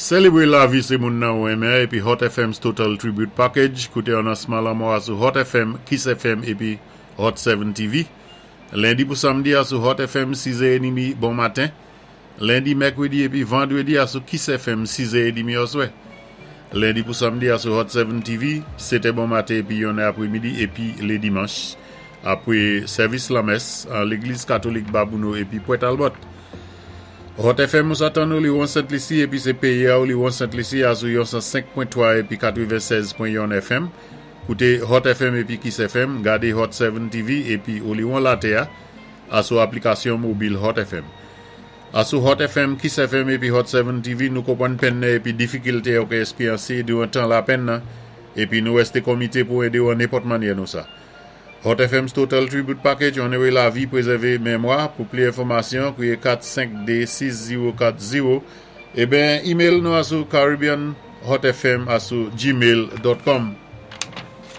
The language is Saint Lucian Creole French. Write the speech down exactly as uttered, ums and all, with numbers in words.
Sélébwé lavi sé moun nan ou renmen épi Hot F M's Total Tribute Package. Kouté anonsman lanmò a sou Hot F M, Kiss F M épi Hot sept T V. Lendi pou samdi a sou Hot F M sis è trant bon maten. Lendi, mèkwédi épi vandwédi a sou Kiss F M sis è trant oswè. Lendi pou samdi a sou Hot sept T V, sèt è bon maten épi yon è apwémidi épi lé dimanch. Apwé sèvis lamès an légliz katolik Babouno épi Port Talbot. Hot F M ou sa tann nou li won Sent Lisi épi sé péyi a ou li won Sent Lisi a sou yon san senk pwen twa épi katwennsèz pwen yon F M. Kouté Hot F M épi Kiss F M, gadé Hot sept T V épi ou li won latè a, a sou aplikasyon mobil Hot F M. A sou Hot F M, Kiss F M épi Hot sept T V, nou konpwann penn nan épi difikilte ou ka ékspéryansé diwan tan lapenn nan, épi nou wèsté komité pou édé ou an nenpòt mannyè nou sa. Hot F M's Total Tribute Package, onoré lavi, pwézèvé mémwa. Pou pli enfòmasyon, kwiyé kat senk dé sis zewo kat zewo. Eben, email nou a sou caribbeanhotfm a sou gmail pwen com.